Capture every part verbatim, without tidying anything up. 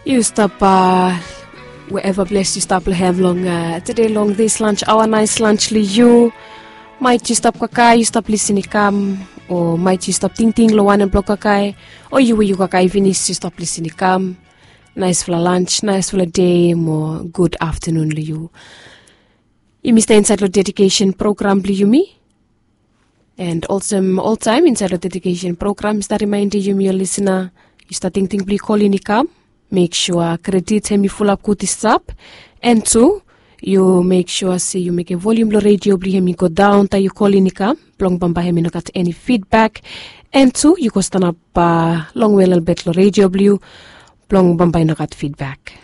Yu stap, wherever ples yu stap long hem long tede long this lunch hour, nice lunch long yu. Maet yu stap kakae yu stap lisin i kam, o maet yu stap tingting long wanem blong kakae, o yu we yu kakae finis yu stap lisin i kam. Naesfala lunch, naesfala dei mo gud aftanun long yu. Yumi stap insaed long dedikesen program blong yumi. And olsem oltaem insaed long dedikesen program mi stap rimaendim yumi ol lisina, yu stap tingting blong yu kolin i kam, mek sua kredit hem i fulap gud i stap. And tu, yu mek sua se yu mekem volium blong redio blong yu hem i godaon taem yu kolin i kam, blong bambae hem i no gat eni fidbak. And tu, yu go stanap longwe lelebet long redio blong yu, blong bambae i no gat fidbak.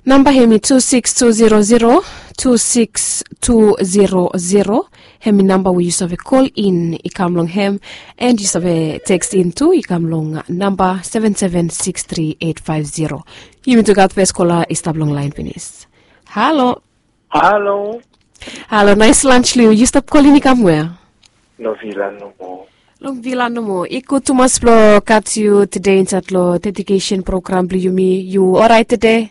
Namba hem i tu sikis tu zero zero, tu sikis tu zero zero. Hem i namba we yu save kolin i kam long hem, and yu save tekstin tu i kam long namba seven seven six three eight five zero. Yumi tu gat fes kola i stap long laen finis. Halo. Halo. Halo, naes lanj long yu. Yu stap kolin i kam wea? Long vila nomo. Long vila nomo. I gud tumas blong gat yu tede insaed long dedikesen program blong yumi. Yu oraet tede?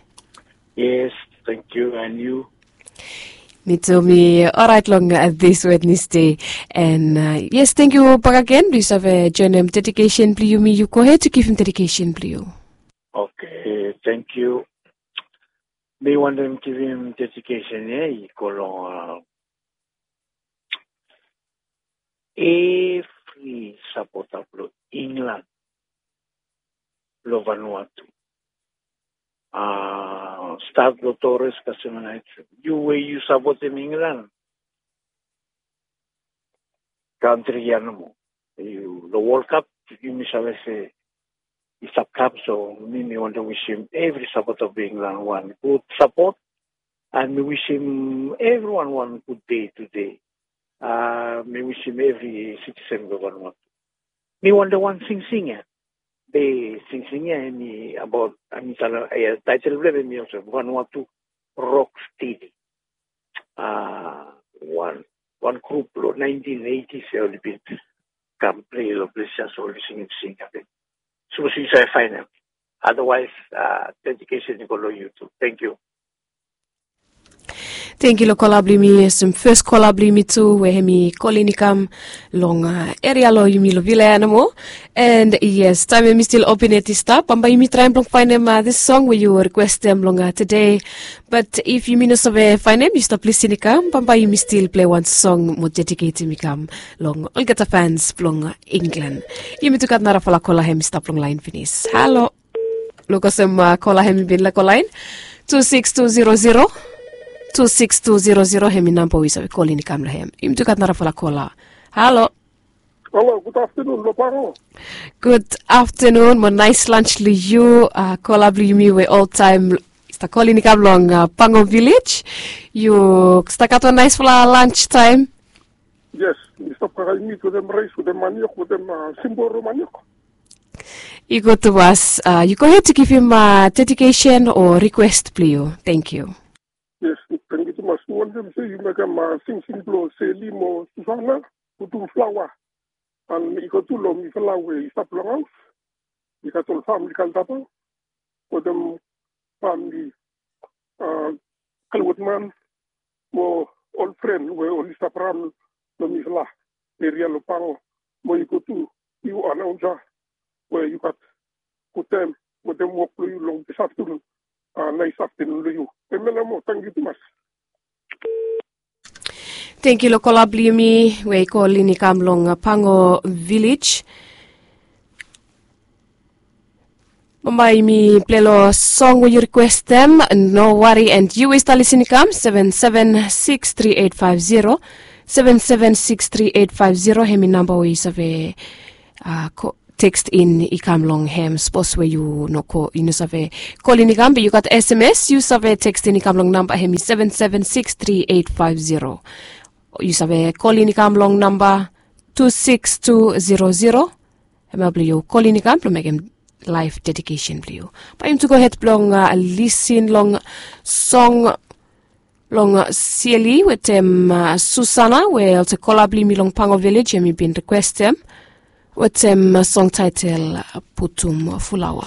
Yes, tangkiu. And yu? Mi tu mi oraet long this Wednesday. And yes, tangkiu bakegen blong yu save joenem dedikesen blong yumi. Yu gohed yu givim dedikesen blong yu. Oke, tangkiu. Mi wantem givim dedikesen ya i go long evri sapota blong Inglan long Vanuatu. Stat long Torres kasem nait, yu we yu sapotem Inglan kantri ya nomo. Long World Cup yumi save se i stap kam, so mi mi wantem wisim evri sapota blong Inglan wan gud sapot. And mi wisim evriwan wan gud dei tede. Mi wisim evri sitisen blong Vanuatu. Mi wantem wan singsing ya. Be singsing ya hem i abaot, hem i talem, taetel blong hem hem i olsem Vanuatu Rock Steady. Wan grup long naentin eitis ya oli bin kam plei long ples ya, so oli singim sing ya. Be sapos yu save faenem. Adawaes, dedikesen i go long yu tu. Tangkiu. Tangkiu long kola blong yumi, olsem fes kola blong yumi tu we hem i kolin i kam long eria long yumi long vila ya nomo. And yes, taem hem i stil open yet i stap, bambae yumi traem blong faenem this song we yu rikwestem long tede. But if yumi no save faenem, yu stap lisin i kam, bambae yumi stil plei wan song mo dediketem i kam long olgeta fans blong Inglan. Yumi tu gat narafala kola hem i stap long laen finis. Halo. Luk olsem kola hem i bin laek go laen. Tu sikis tu zero zero, tu sikis tu zero zero hem i namba we yu save kolin i kam long hem. Yumi tu gat narafala kola. Halo. Halo, gud aftanun long Pango. Gud aftanun mo naes lanj long yu. Kola blong yumi we oltaem i stap kolin i kam long Pango Vilej. Yu stap gat wan naesfala lanj taem. Yes, mi stap kakae mit wetem raes wetem maniok wetem simboro maniok. I gud tumas. Yu gohed yu givim dedikesen o rikwes blong yu. Tangkiu. Yes, tangkiu tumas. Mi wantem se yu mekem singsing blong Seli mo Susana, putum flaoa. And i go tu long mifala we i stap long haos. I gat ol famili Kaltaba wetem famili Kalwetman mo ol fren we oli stap raon long mifala eria long Pango. Mo yu go tu, yu anaonsa we yu gat gud taem wetem wok blong yu long dis aftanun. Naes aftanun long yu. Hemia nao moa, tangkiu tumas. Tangkiu long kola blong yumi we i kolin i kam long Pango Vilej. Bambae yumi plei long song we yu rikwestem, no wari, and yu we yu stap lisin i kam seven seven six three eight five zero, seven seven six three eight five zero hem i namba we yu save tekstin i kam long hem. Sapos we yu no, yu no save kolin i kam be yu gat S M S, yu save tekstin i kam long namba hem i seven seven six three eight five zero. Yu save kolin i kam long namba tu sikis tu zero zero. Hemia blong yu kolin i kam blong mekem laef dedikesen blong yu. Bae yumi tu gohed blong lisin long song long Seli wetem Susana we olsem kola blong yumi long Pango Vilej hem i bin rikwestem. Wetem song taitel putum fulawa.